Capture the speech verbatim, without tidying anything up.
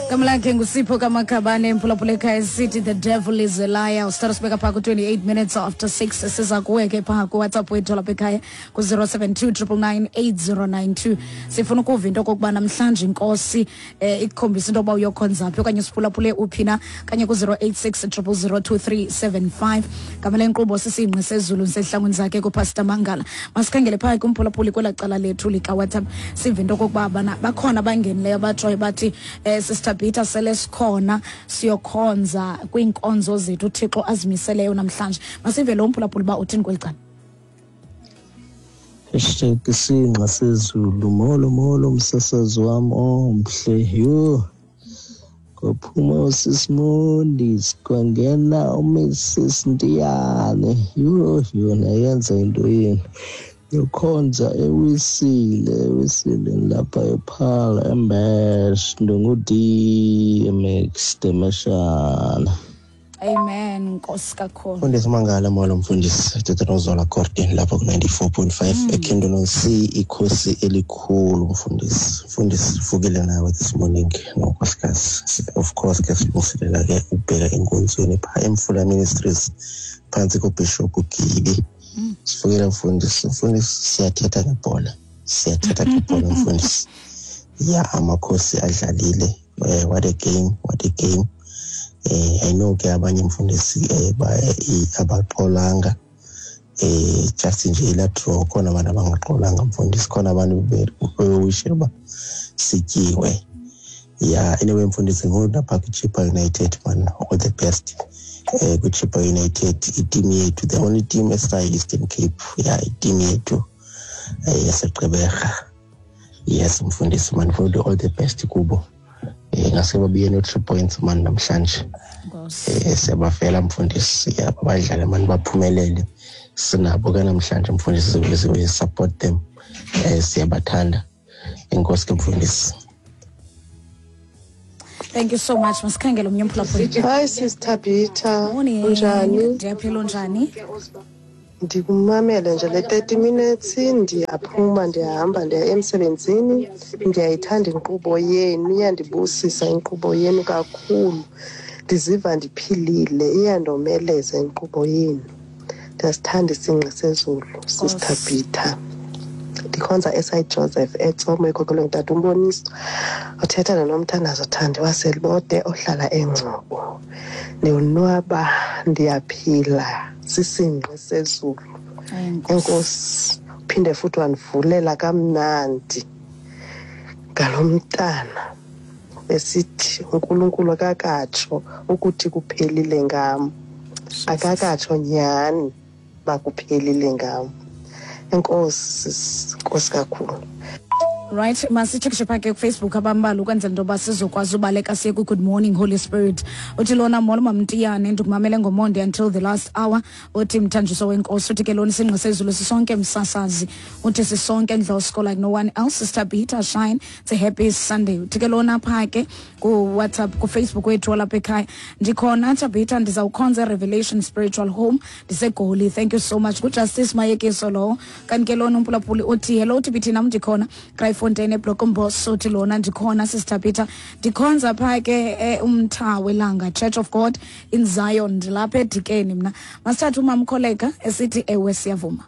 Igama lakhe nguSipho kaMakhabane, emphulaphula ekhaya, esithi "The Devil Is a Liar". Usithatha sibeka phaa ku-twenty-eight minutes after six. Siza kuwe ke phaa kuWhatsApp wethu lapha ekhaya ku-zero seven two nine nine nine eight zero nine two. Sifuna ukuva into okokuba namhlanje inkosi eh, ikukhombisa into yoba uyokhonza phi okanye usiphulaphule uphi na, kanye ku-zero eight six zero zero zero two three seven five. Gama lenkqubo sisingqi sezulu, ndisehlangwini zakhe kuPastor Mangala. Masikhangele phaa kumphulaphuli kwelaa cala lethu likaWhatsApp, sive into okokuba bana bakhona abangenileyo abatshoyo bathi um Sister Peter, sele sikhona siyokhonza kwiinkonzo zethu uThixo azimiseleyo namhlanje. Masive lo mphulaphuli uba uthini kweli cala. Hashtag isingqa sezulu. Molo, molo, msasazi wam omhle. Yho, kwaphuma uSismondis, kwangena uMrs Ntiyane. Yho, yona yenza into yenu yokhonza eWisile, eWisile lapha ePhala eMbesh. Ndingu-D M X Demeshana. Amen, nkosi kakhulu. Mfundisi Mangala, molo mfundisi. Thetha noZola Gordon lapha ku-ninety-four point five eKendon C, ikhosi elikhulu mfundisi. Mfundisi, vukile nawe this morning nonkosikazi. Of course ke silungiselela ke ukubheka enkonzweni phaa eMfula Ministries phantsi koBishop Gibi. Sivukile mfundisi. Mfundisi, siyathetha ngebhola, siyathetha ngebhola mfundisi. Ya, amakhosi adlalile. eh, what a game, what a game. eh I know ke abanye mfundisi eh abaxolanga, eh just nje ila draw. Khona abantu abangaxolanga mfundisi, khona abantu bewishe uba sityiwe. Ya, anyway mfundisi, ngolapha kwiChippa United man, all the best eh kwiChippa United, iteam yethu, the only team esayi Eastern Cape. Ya, iteam yethu eh yaseGqeberha. Yes mfundisi man, all the best kubo. eh ngase babuye no three points man namhlanje. Nkosi. eh siyabafela mfundisi, yabo badlale mani, baphumelele. Sinabo ke namhlanje mfundisi, we support them. eh siyabathanda. Enkosi ke mfundisi. Thank you so much. Masikhangele omnye umphulaphuli. Hi Sis Tabitha. Morning. Unjani? Ndiyaphila, unjani? Ndikumamele nje le thirty minutes, ndiyaphuma, ndiyahamba, ndiya emsebenzini. Ndiyayithanda inkqubo yenu, iyandibusisa inkqubo yenu kakhulu. Ndiziva ndiphilile, iyandomeleza inkqubo yenu. Ndiyasithanda isingqi sezulu, Sis Tabitha. Ndikhonza eSaint Joseph eTsomo, ekhokelwe ngutata uMboniso. Uthetha noNomthandazo Thandi waseLibode ohlala eNgcobo. Ndiyonwaba, ndiyaphila, sisingqi sezulu. Enkosi, uphinde futhi wandivulela kamnandi ngalo mntana esithi uNkulunkulu akakatsho ukuthi kuphelile ngam, akakatsho nyhani uba kuphelile ngam. Enkosi sis, enkosi kakhulu. Right, masitshekishe phaa ke kuFacebook abambalwa ukwenzela into yoba sizokwazi ubaleka siye ku-Good Morning Holy Spirit. Uthi lona, "Molo Mamtiyane, ndikumamele ngomonde until the last hour." Uthi mthanjiso wenkosi. Uthi ke lona, "Isingqi sezulu sisonke msasazi." Uthi sisonke ndlosko like no one else. Sister Peter shine, it's a happy Sunday. Uthi ke lona phaa ke kuWhatsApp, kuFacebook wethu walapha ekhaya, "Ndikhona Tabitha, ndizawukhonza eRevelation Spiritual Home, ndiseGoli. Thank you so much." NguJustice Mayekiso lowo. Kanti ke lona umphulaphuli uthi, "Hello T B T, nam ndikhona Kraaifontein eBlokombos." Uthi lona, "Ndikhona Sister Peter, ndikhonza phaa ke eh, umtha welanga Church of God in Zion, ndilapha eDikeni mna." Masithathe umamkholeka esithi, "Ewe, siyavuma."